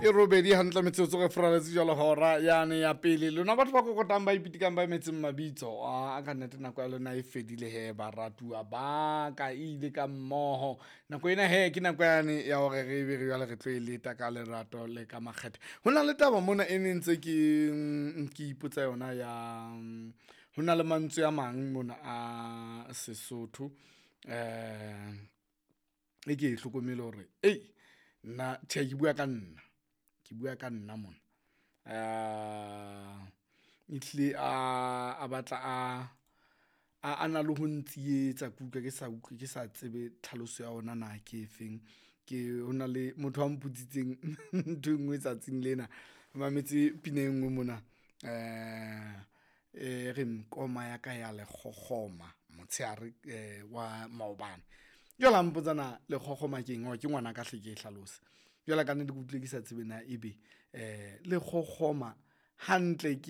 E robedi hantle metsotso re furaletse jalo hora yane ya pele. Lona batho ba kokotang, ba ipitikang, ba emetseng mabitso a ka nnete, nako ya lona e fedile he, baratuwa ba ka, e ile ka mmoho nako ena. He, ke nako yane ya hore re be re jwale re tlo e leta ka lerato le ka makgethe. Ho na le taba mona e ne ntse ke ipotsa yona ya ho na le mantswe a mang mona a Sesotho, e ke e hlokomele hore ei nna tjhe, ke bua ka nna, ke bua ka nna mona. Ehlile a batla a na le ho ntsietsa, ke utlwa ke sa utlwe, ke sa tsebe tlhaloso ya ona na ke efeng. Ke ho na le motho a mpotsitseng ntho e nngwe tsatsing lena, ke mametse pina e nngwe mona e reng koma ya ka ya lekgokgoma motshehare wa maobane. Jwale a mpotsa na lekgokgoma keng, ke ngwanaka hle ke e hlalose. Jwale kannete ke utlwile ke sa tsebe na ebe lekgokgoma hantle ke.